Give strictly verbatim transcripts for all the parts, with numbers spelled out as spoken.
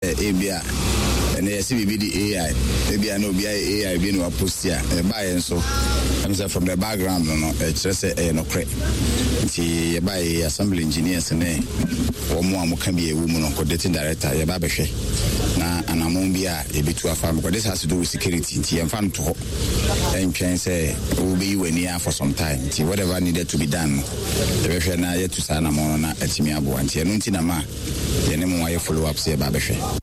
Ebia ɛnɛ yɛsɛ biribi de A I, ebia na obi ayɛ A I bi na wapost a ɛbaeɛ nso ɛm sɛ from the background no no ɛkyerɛ sɛ ɛyɛ nokorɛ. Nti yɛbaeɛ, assembly engineers ne wɔn a wɔka bi a ɛwɔ mu no, coordinating director, yɛba abɛhwɛ na anammɔn bi a yɛbɛtu afa, because this has to do with security. Nti yɛmfa nto hɔ ɛntwɛn sɛ wobɛyi w'ani a for some time. Nti whatever needed to be done no, yɛbɛhwɛ na yɛtu saa anammɔn no na atumi aboa. Nti ɛno nti na ma yɛne mo ayɛ follow up sɛ yɛba abɛhwɛ.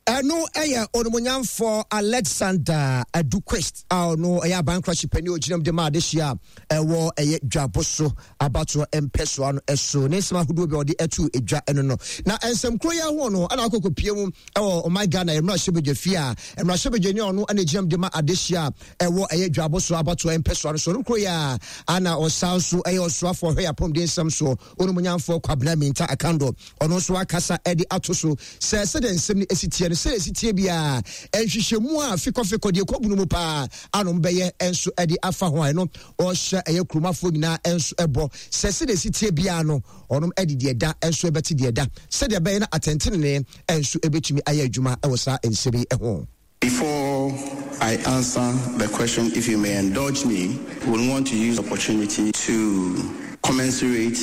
Ɛno ɛyɛ Onimonyamfoɔ Alexander Aduquist a ɔno ɛyɛ abankrakye panyin ogyina mu de ma adehyia a ɛwɔ ɛyɛ Dwabo so abatoɔ mpɛsoa no ɛso ne nsɛm ahodoɔ bi a ɔde ɛto edwa. Ɛno no na nsɛm kuro yi ho no ɛna akɔkɔ pie mu ɛwɔ ɔman Ghana mmarahyɛbadwa fie a mmarahyɛbadwa ni ɔno ɛna gyina mu de ma adehyia a ɛwɔ ɛyɛ Dwabo so abatoɔ mpɛsoa no so no kuro yi a ana ɔsan so ɛyɛ ɔsoafoɔ hwɛ apɔmuden nsɛm soɔ, Onimonyamfoɔ Kwabena Minta Akando, ɔno nso akasa ɛde ato so sɛ sɛdeɛ nsɛm no esi tie no, sɛ esi tie biara, nhwehwɛmu a fikɔfikɔ deɛ kɔbunu mu paa anom bɛyɛ nso ɛde afa ho a ɛno ɔhyɛ ɛyɛ kuromafoɔ nyinaa nso ɛbɔ sɛ sɛdeɛ esi tie biara no, ɔnom ɛde deɛ da nso ɛbɛte deɛ da sɛdeɛ ɛbɛyɛ no atɛntenene nso ɛbɛtumi ayɛ adwuma ɛwɔ saa nsɛm yi ho. Before I answer the question, if you may indulge me, we want to use the opportunity to commiserate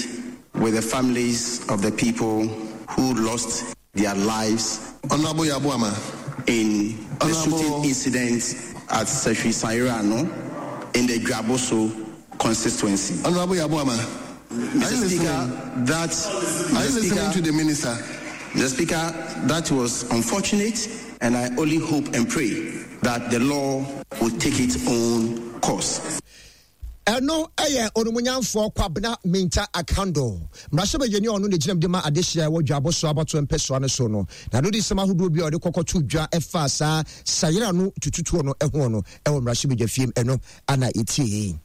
with the families of the people who lost their lives Honorable Yabuama. in the Honorable- shooting incident at Sefwi Sairano in the Juaboso constituency. Honorable Yabuama. Mister Are you Speaker, listening? that Are you Mister listening Speaker, to the minister? Mister Speaker, that was unfortunate, and I only hope and pray that the law will take its own course. Ɛno ɛyɛ Onimonyamfoɔ Kwabena Minta Akando, mmarahyɛbadwani a ɔno ne gyinam de ma adehyia a ɛwɔ Dwabo so abatoɔ mpɛsoa no so no, na no de nsɛm ahodoɔ bi a ɔde kɔkɔ to dwa ɛfa saa sayera no tututuo no ɛho no ɛwɔ mmarahyɛbadwa fiem. Ɛno ana ɛtie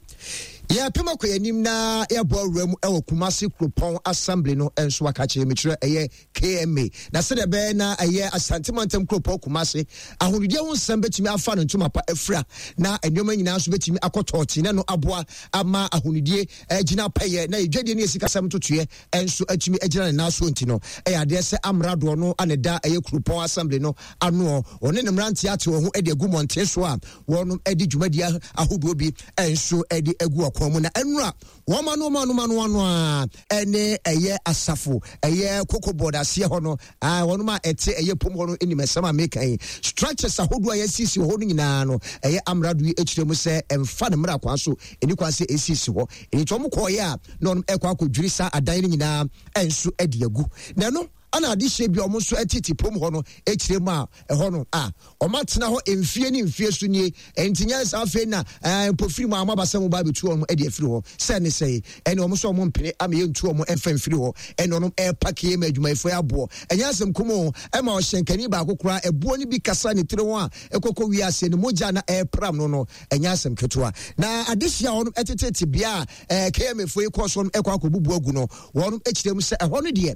yɛpem akɔ yɛnim na yɛbɔ awura mu ɛwɔ Kumase Kuropɔn Assembly no nso aka kyerɛ mekyerɛ ɛyɛ K M A na sɛdeɛ ɛbɛyɛ na ɛyɛ Asantemantam kuropɔn Kumase ahonidie ho nsɛm bɛtumi afa no ntoma pa afira na nneɛma nyinaa nso bɛtumi akɔ tɔɔte na no aboa ama ahonidie agyina pɛyɛ na yɛdwadie ne yɛsikasɛm ntotoeɛ nso atumi agyina ne nan so. Nti no ɛyɛ adeɛ sɛ amradoɔ no ane da ɛyɛ kuropɔn assembly no anoɔ ɔne ne mmeranteɛ ate wɔn ho de agu mmɔnten so a wɔnom de dwumadie ahodoɔ bi nso de agu ɔkwan mu. Na ɛnora wɔn ano ano ano ano a ɛne ɛyɛ asafo ɛyɛ Cocoa Board aseɛ hɔ no a wɔnom a ɛte ɛyɛ pom hɔ no anim ɛsɛm a meka yi, structures ahodoɔ a yɛasiesie hɔ no nyinaa no, ɛyɛ amrado yi akyerɛ mu sɛ ɛmfa ne mmara kwan so, ɛni kwan sɛ ɛsiesie hɔ. Ɛni nti wɔn kɔɔyɛ a na wɔn ɛkɔ akɔdwiri saa adan no nyinaa ɛnso ɛde agu. Na ɛno ana adehyɛ bi a wɔn nso ɛtete pom hɔ no akyerɛ mu a ɛhɔ no a wɔn atena hɔ mfie ne mfie so nie. Nti nyɛ saa afei na ɛɛ mpofiri mu a wɔn abasa mu ba abɛtu wɔn de afiri hɔ sɛ ne sɛ ɛne wɔn nso wɔn mpene ama yɛntu wɔn mfa mfiri hɔ. Ɛne wɔn ɛrepa kie ma adwumayɛfoɔ yi aboɔ ɛnyɛ asɛm kum o. Ɛma ɔhyɛnkani baako koraa ɛboɔ no bi kasa ne tiri ho a ɛkɔkɔ wiase ne mogya na ɛrepram no no ɛnyɛ asɛm ketewa. Na adehyia a wɔn ɛtetete bea a ɛɛ K M A foɔ yi kɔɔ so no ɛkɔ akɔbubu agu no, wɔn akyerɛ mu sɛ ɛhɔ no deɛ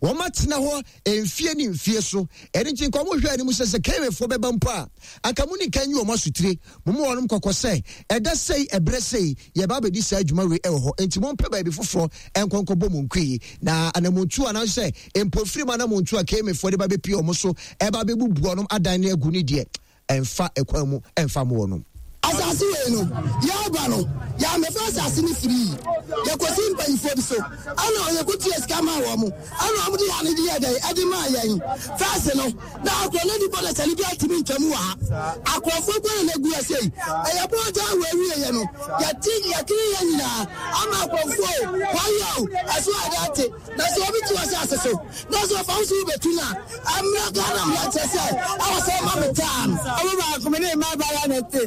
wɔn atena hɔ mfie ne mfie so. Ɛno nti nka wɔn hwɛ anim sɛ sɛ K M A foɔ bɛba mpo a, anka mo ne nkan yi wɔn asotire mo mu wɔn kɔkɔ sɛ ɛda sɛi, ɛbrɛ sɛi, yɛba abɛdi saa adwuma wei ɛwɔ hɔ, nti mo mpɛ baabi foforɔ ɛnkɔnkɔbɔ mo nkui. Na anamontu anaasɛ mpofiri mu anamontu a K M A foɔ de ba bɛpie wɔn so ɛba bɛbubu wɔn adan ne agu ne deɛ ɛmfa ɛkwan mu ɛmfa mo wɔn. Asase wei no, yɛaba no, yɛamɛfa asase no firii yɛkɔsi mpanyimfoɔ bi so ana yɛkɔtua sika maa wɔ mo ana ɔmde yɛ ane de yɛ dɛn ɛde maa yɛn. First no na akorɔ no nipa na sɛne bi atumi ntwam wɔ ha. Akorɔfoɔ kɔ na nagu asei ɛyɛ bɔɔgya wɔ awieɛ no yɛte yɛkere yɛ nyinaa ama akorɔfoɔ wɔyɛ o ɛso ade ate. Na sɛ obi te wɔ asase so na sɛ ɔfa wo so wobɛtu no a, ɛmmerɛ Ghana mmara kyerɛ sɛ ɛwɔ sɛ ɔma me taa no. Ɔmo baako me ne mma abaayewa na ɛte.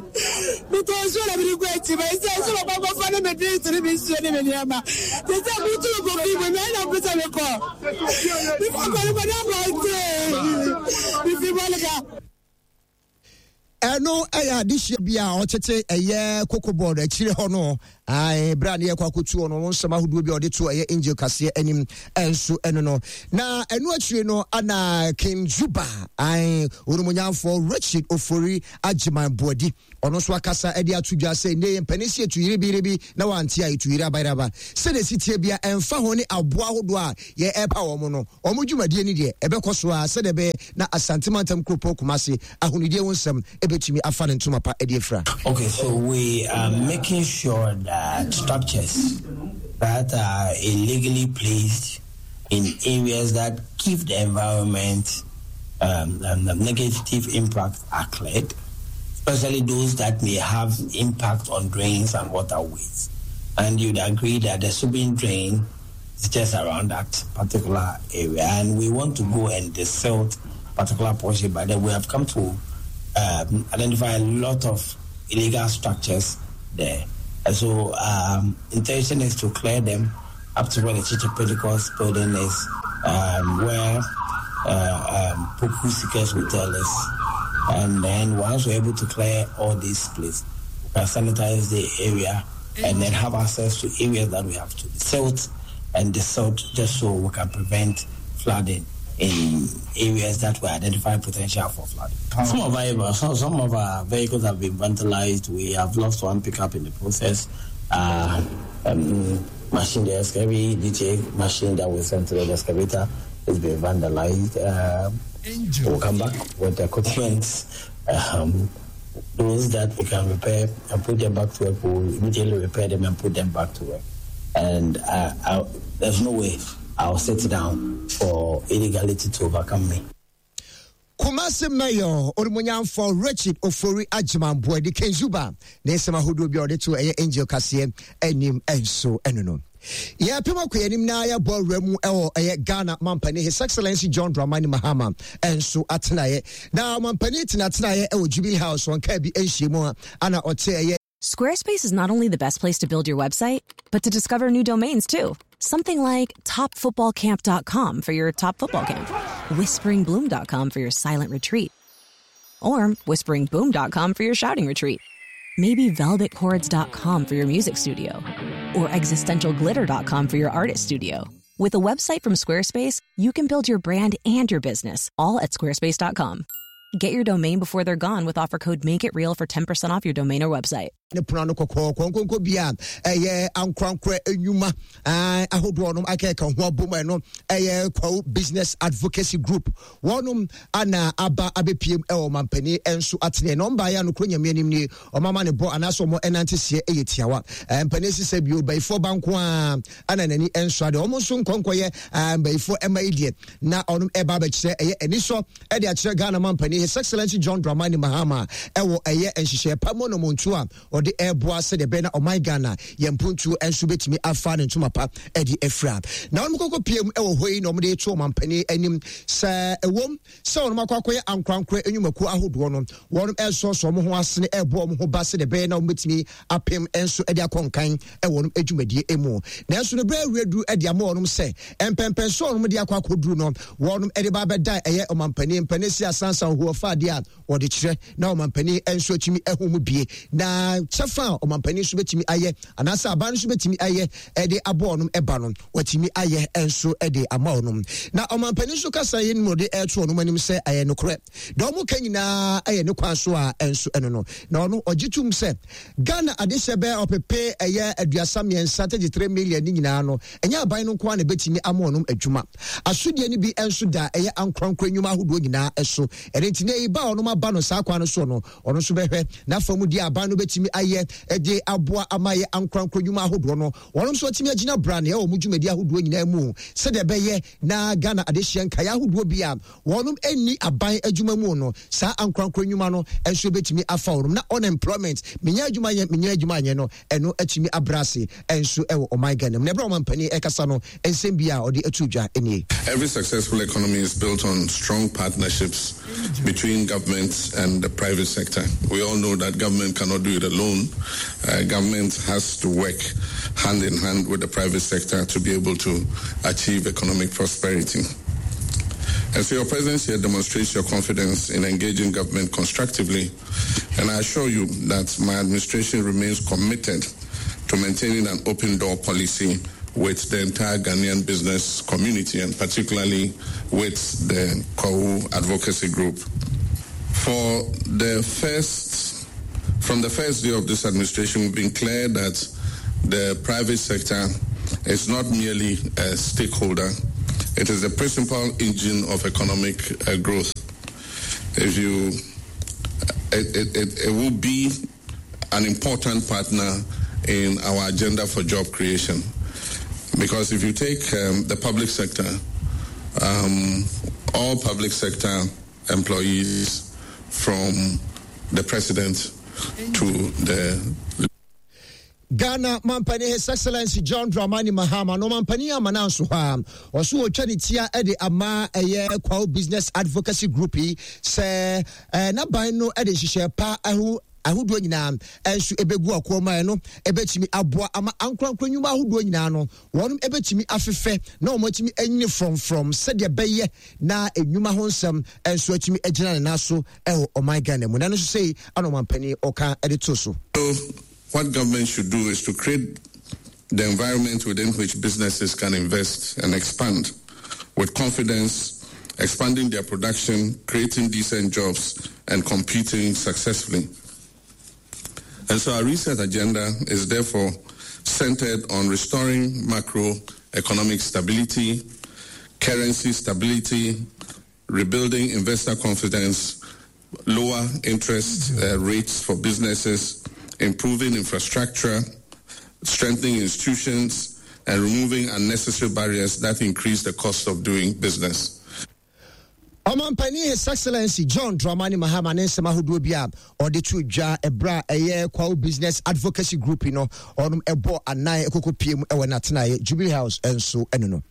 Metɔ nsuo na mede gu akyi ma ɛsɛ sɛ papa kɔfa ne me drinks ne me nsuo ne me nneɛma. Te sɛ mutu kofi mu mɛ na mpɛ sɛ mekɔ. Mekɔ kɔ no kɔ na abɔnten. Mefi bɔleka. Ɛno ɛyɛ adehyia bi a ɔtete ɛyɛ Cocoa Board akyire hɔ no Ae, berɛ a ne yɛkɔ akɔtu ɔno no nsɛm ahodoɔ bi a ɔde to ɛyɛ Angel kaseɛ anim ɛnso ɛno no. Na ɛno akyire no ana King Juba, ae, onumonyamfoɔ Richard Ofori Agyeman Boadi, ɔno nso akasa ɛde ato dwa sɛ nnɛ yɛ mpanin si etu yere bi yere bi na wante a etu yere abayeraba. Sɛdeɛ ɛsi tie bia ɛmfa ho ne aboa ahodoɔ a yɛ ɛpa wɔn no, wɔn dwumadie ni deɛ ɛbɛkɔ so a sɛdeɛ ɛbɛyɛ na Asante mantam kuropɔn Kumase ahonidie ho nsɛm ɛbɛtumi afa ne ntoma pa ɛde afira. Okay, so we are making sure that structures that are illegally placed in areas that give the environment um, um, negative impact are cleared, especially those that may have impact on drains and waterways. And you'd agree that the Subin drain is just around that particular area, and we want to go and desilt particular portion, but then we have come to um, identify a lot of illegal structures there. And so um, intention is to clear them up to where the Church of Pentecost building is, um, where uh, um, Poku Seekers Hotel is. And then once we're able to clear all these places, we can sanitize the area and then have access to areas that we have to silt and desilt, just so we can prevent flooding in areas that were identified potential for flooding. Some of our, some, some of our vehicles have been vandalized. We have lost one pickup in the process. Uh, um, machine, the excavator, D T A machine that was sent to the excavator has been vandalized. Uh, we'll come back with the equipment. Um, those that we can repair and put them back to work, we'll immediately repair them and put them back to work. And uh, I, there's no way I'll sit down for illegality to overcome me. Kumasi Mayor Onimuonyamfo Richard Ofori Agyeman Boadi Kenzuba ne nsɛm ahodoɔ bi a ɔde to ɛyɛ Angel kaseɛ anim nso ɛno no. Yɛpem akɔ anim na yɛbɔ awura mu ɛwɔ ɛyɛ Ghana mampani His Excellency John Dramani Mahama nso atenaeɛ. Na mampani tenatenaeɛ ɛwɔ Jubilee House wɔn kaa bi nhyia mu a ana ɔte ɛyɛ. Squarespace is not only the best place to build your website, but to discover new domains too. Something like top football camp dot com for your top football camp, whispering bloom dot com for your silent retreat, or whispering boom dot com for your shouting retreat. Maybe velvet chords dot com for your music studio, or existential glitter dot com for your artist studio. With a website from Squarespace, you can build your brand and your business all at squarespace dot com. Get your domain before they're gone with offer code MAKEITREAL for ten percent off your domain or website. Ne pono ano kɔkɔɔ kɔnkɔnkɔ bi a ɛyɛ ankorankorɛ enyuma ahodoɔ nom akɛka ho abom ɛno ɛyɛ Kwawu Business Advocacy Group wɔnom ana aba abɛpiem ɛwɔ mampanin nso atene na ɔmba yɛ anokoro nyame anim nie ɔmama ne bɔ anaasɛ ɔmo ɛnante seɛ ɛyɛ tiawa mpanin sisɛ bio bayifoɔ banko a ana n'ani nso ade ɔmo nso nkɔnkɔyɛ mbayifoɔ ɛma yi deɛ na ɔnom ɛba abɛkyerɛ ɛyɛ anisɔ ɛde akyerɛ Ghana mampanin His Excellency John Dramani Mahama ɛwɔ ɛyɛ nhyehyɛ pa mu no a ɔde ɛboa sɛdeɛ ɛbɛyɛ na ɔman Ghana yɛn mpuntuo nso bɛtumi afa ne ntoma pa ɛde afira na wɔn kɔkɔ pie mu ɛwɔ hɔ yi na wɔde to ɔmampanin anim sɛ ɛwom sɛ wɔn akɔ akɔyɛ ankorankora enyumakuo ahodoɔ no wɔn ɛsɔsɔ wɔn ho asene ɛboa wɔn ho ba sɛdeɛ ɛbɛyɛ na wɔn bɛtumi apem nso ɛde akɔ nkan ɛwɔ wɔn adwumadie emu nanso no berɛ awura duru ɛde ama wɔn sɛ mpɛmpɛnso wɔn de akɔ akɔduru no wɔn ɛde ba abɛda ɛyɛ ɔmampanin mpanin si asansan ho ɔfa adeɛ a wɔde kyerɛ na ɔmampanin nso atumi ɛho mu bie na kyɛfa a ɔmampanin nso bɛtumi ayɛ anaasɛ aban nso bɛtumi ayɛ ɛde abɔ ɔnom ɛba no wɔtumi ayɛ nso ɛde ama ɔnom na ɔmampanin nso kasa yɛ nim ɔde ɛto ɔnom anim sɛ ɛyɛ nokorɛ deɛ ɔmo ka nyinaa ɛyɛ ne kwan so a ɛnso ɛno no na ɔno ɔgye tum sɛ Ghana adehyɛ bɛɛ ɔpepe ɛyɛ aduasa mmiɛnsa thirty-three million ne nyinaa no ɛnyɛ aban no nko a na ɛbɛtumi ama ɔnom adwuma asodie no bi nso da ɛyɛ ankorankora nnwuma ahodoɔ nyinaa ɛso ɛno nti na ɛyi ba ɔnom aba no saa kwan no so no ɔno nso bɛhwɛ na fa mu deɛ aban no bɛtumi ayɛ ɛde aboa ama yɛ ankorankora nnwuma ahodoɔ no wɔn nso atumi agyina brane ɛwɔ mu dwumadi ahodoɔ nyinaa mu sɛdeɛ ɛbɛyɛ na Ghana adehyɛ nkaeɛ ahodoɔ bi a wɔnom nni aban adwuma mu no saa ankorankora nnwuma no nso bɛtumi afa wɔnom na unemployment menya adwuma yɛ menya adwuma anyɛ no ɛno atumi abrɛ ase nso ɛwɔ ɔman Ghana mu na ɛberɛ a ɔmampanin ɛkasa no nsɛm bi a ɔde ato dwa nie. Every successful economy is built on strong partnerships between government and the private sector. We all know that government cannot do it alone. Uh, government has to work hand in hand with the private sector to be able to achieve economic prosperity. And so your presence here demonstrates your confidence in engaging government constructively, and I assure you that my administration remains committed to to maintaining an open door policy with the entire Ghanaian business community and particularly with the Kwahu Advocacy Group. For the first, from the first day of this administration, we've been clear that the private sector is not merely a stakeholder. It is the principal engine of economic uh, growth. If you, it, it, it, it will be an important partner in our agenda for job creation. Because if you take um, the public sector, um, all public sector employees from the president to the Ghana mampani His Excellency John Dramani Mahama no mampani ama no nso hɔ a ɔso wɔtwa ne tia de ama ɛyɛ Kwahu Business Advocacy Group yi sɛ eh, n'aban no de nhyehyɛ pa aho ahodoɔ nyinaa nso ɛbɛgu akoɔ ma ɛno ɛbɛtumi aboa ama ankorankora nnwuma ahodoɔ nyinaa no wɔnom ɛbɛtumi afefɛ na wɔn atumi anyini frɔmfrɔm sɛdeɛ ɛbɛyɛ na nnwuma ho nsɛm nso atumi agyina ne nan so ɛwɔ ɔman Ghana mu na ɛno nso sei ana ɔmampanin ɔka de to so. So what government should do is to create the environment within which businesses can invest and expand with confidence, expanding their production, creating decent jobs, and competing successfully. And so our reset agenda is therefore centered on restoring macroeconomic stability, currency stability, rebuilding investor confidence, lower interest uh, rates for businesses, improving infrastructure, strengthening institutions, and removing unnecessary barriers that increase the cost of doing business. Ɔmampanin His Excellency John Dramani Mahama ne nsɛm ahodoɔ bi a ɔde to dwa ɛberɛ a ɛyɛ Kwahu Business Advocacy Group no ɔnom ɛbɔ anan ɛkɔkɔ pie mu ɛwɔ n'atenaeɛ Jubilee House nso ɛno no.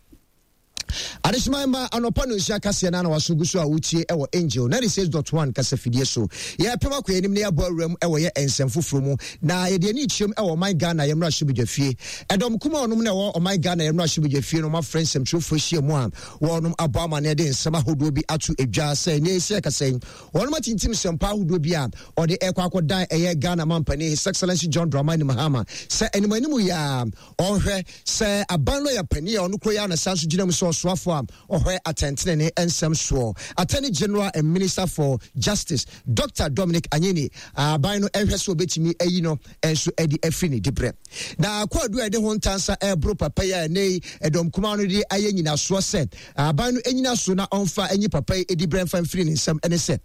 Adehyeman ma anɔpa no nhyia kaseɛ no ana waso gu so a wotie ɛwɔ Angel ninety-six point one kasafidie so. Yɛpem akɔ anim na yɛabɔ awura mu ɛwɔ yɛ nsɛm foforɔ mu na yɛde ani kyerɛm ɛwɔ ɔman Ghana yɛ mmarahyɛbadwa fie. Ɛdɔm kuma ɔnom na ɛwɔ ɔman Ghana yɛ mmarahyɛbadwa fie no ɔmafrɛ nsɛmtwerɛfoɔ ahyia mu a wɔnom abɔ amanneɛ de nsɛm ahodoɔ bi ato edwa sɛ ne ɛsi ɛkasa yi wɔnom atintim nsɛmpa ahodoɔ bi a ɔde ɛkɔ akɔdan ɛyɛ Ghana mampanin His Excellency John Dramani Mahama sɛ anim anim yɛ a ɔhwɛ sɛ aban no yɛ panin a ɔno kuro yi a na san so gyina mu sɛ ɔsoafo a ɔhwɛ atɛntenene nsɛm soɔ, Attorney General and Minister for Justice, Doctor Dominic Ayine, aban no ɛhwɛ sɛ obɛtumi ayi no nso de afiri ne dibrɛ na akɔadu a ɛde ho ntansa ɛreboro papa yi a ɛnɛ yi ɛdɔm kumaa no de ayɛ nyinasoɔ sɛ aban no nyina so na ɔmfa anyi papa yi dibrɛ mfa mfiri ne nsɛm ɛne sɛ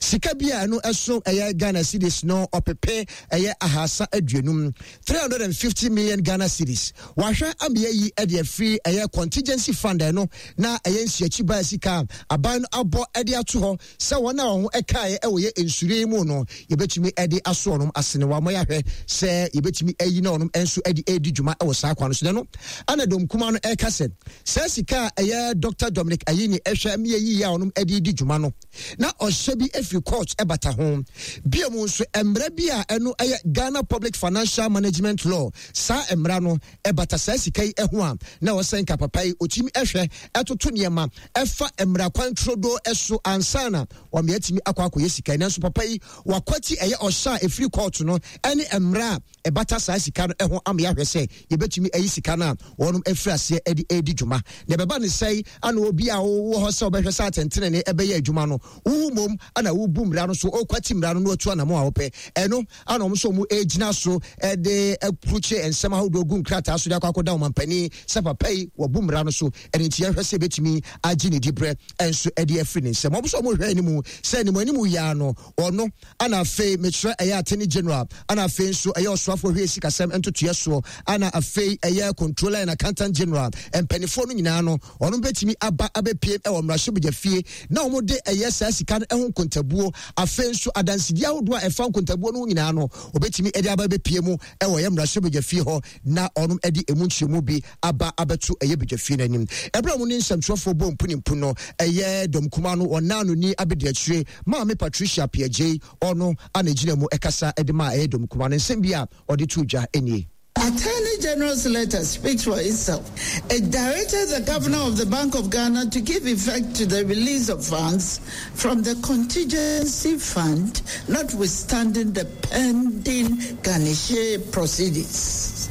sika bi a ɛno ɛso ɛyɛ Ghana cedis no ɔpepe ɛyɛ ahasa aduonum, three hundred fifty million Ghana cedis, wahwɛ amea yi ɛde afiri ɛyɛ contingency fund ɛno na ɛyɛ nsiakyi baa sika aban no abɔ ɛde ato hɔ sɛ wɔn a wɔn ho ɛkaeɛ ɛwɔ yɛ nsurie mu no yɛbɛtumi ɛde aso ɔnom asene wɔn amɔ yɛahwɛ sɛ yɛbɛtumi ayi na ɔnom nso ɛde ɛredi dwuma ɛwɔ saa kwan no so. No ana dɔm kuma no ɛka sɛ saa sika a ɛyɛ Doctor Dominic Ayine ɛhwɛ mmea yi a ɔnom ɛde di dwuma no na ɔhyɛ bi afiri court ɛbata ho bia mu nso mmerɛ bi a ɛno ɛyɛ Ghana Public Financial Management Law, saa mmara no ɛbata saa sika yi ɛho a na wɔsɛn nka papa yi otimi ɛhwɛ ɛtoto nneɛma ɛfa mmara kwan turodo ɛso ansa na wɔn atumi akɔ akɔyɛ sika yi. Nanso papa yi wakwati ɛyɛ ɔhyɛ a ɛfiri court no ɛne mmara a ɛbata saa sika no ɛho ama yɛahwɛ sɛ yɛbɛtumi ayi sika no a wɔnom afiri aseɛ ɛde ɛredi dwuma na ɛbɛba ne sɛe ana obi a wowɔ hɔ sɛ wobɛhwɛ sɛ atɛntenene ɛbɛyɛ adwuma no wohu mmom ana wobu mmara no so ɔkwati mmara no na watu anamo a wopɛ. Ɛno ana ɔmo nso ɔmo ɛgyina so ɛde akurukye nsɛm ahodoɔ gu nkrataa so de akɔ akɔda ɔmampanin sɛ papa yi wɔbu mmara no so, ɛno nti yɛhwɛ sɛ ɛbɛtumi agye ne diberɛ ɛnso ɛde afiri ne nsɛm. Ɔmo nso ɔmo hwɛ anim sɛ anim anim yia no ɔno ana afei mekyerɛ ɛyɛ Attorney General ana afei nso ɛyɛ ɔsoafoɔ hwɛ sikasɛm ntotoeɛ soɔ ana afei ɛyɛ Controller and Accountant General, mpanimfoɔ no nyinaa no ɔno bɛtumi aba abɛpie ɛwɔ mmarahyɛbadwa fie na wɔn de ɛyɛ saa sika no ɛho nkontabuo, afei nso adansidie ahodoɔ a ɛfa nkontabuo no nyinaa no obɛtumi ɛde aba abɛpie mu ɛwɔ ɛyɛ mmarahyɛbadwa fie hɔ na ɔnom ɛde emu nkyerɛmu bi aba abɛto ɛyɛ badwa fie no anim. Ɛberɛ a wɔn ne nsɛmtwerɛfoɔ bɔ mpunimpu no ɛyɛ dɔm kuma no ɔnaa no ni abɛdi akyire Maame Patricia Appiagyei ɔno ana gyina mu ɛkasa ɛde ma ɛyɛ dɔm kuma no nsɛm bi a ɔde to dwa nie. Attorney General's letter speaks for itself. It directed the governor of the Bank of Ghana to give effect to the release of funds from the contingency fund, notwithstanding the pending garnishee proceedings.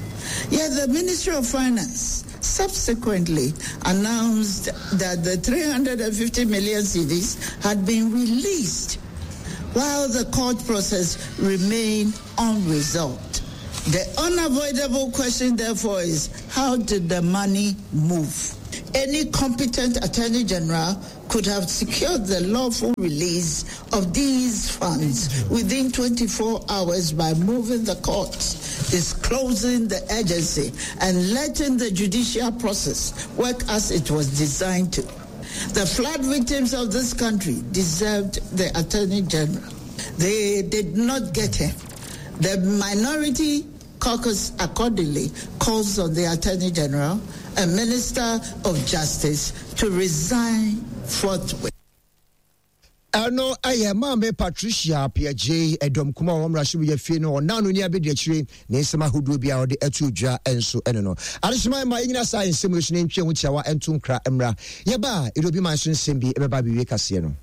Yet the Ministry of Finance subsequently announced that the three hundred fifty million cedis had been released while the court process remained unresolved. The unavoidable question, therefore, is how did the money move? Any competent Attorney General could have secured the lawful release of these funds within twenty-four hours by moving the courts, disclosing the urgency, and letting the judicial process work as it was designed to. The flood victims of this country deserved the Attorney General. They did not get him. The Minority Caucus accordingly calls on the Attorney General and Minister of Justice to resign forthwith. Ɛno ɛyɛ Maame Patricia Appiagyei, ɛdɔm kuma a wɔmmra yɛ fie no ɔna no ni abɛdi akyire ne nsɛm ahodoɔ bi a ɔde ato dwa. Nso ɛno no adehyema ma yɛnyina saa nsɛm yi so ne ntwe ho tiawa ɛnto nkra mmra. Yɛba a ɛde obi man so nsɛm bi ɛbɛba abɛwie kaseɛ no.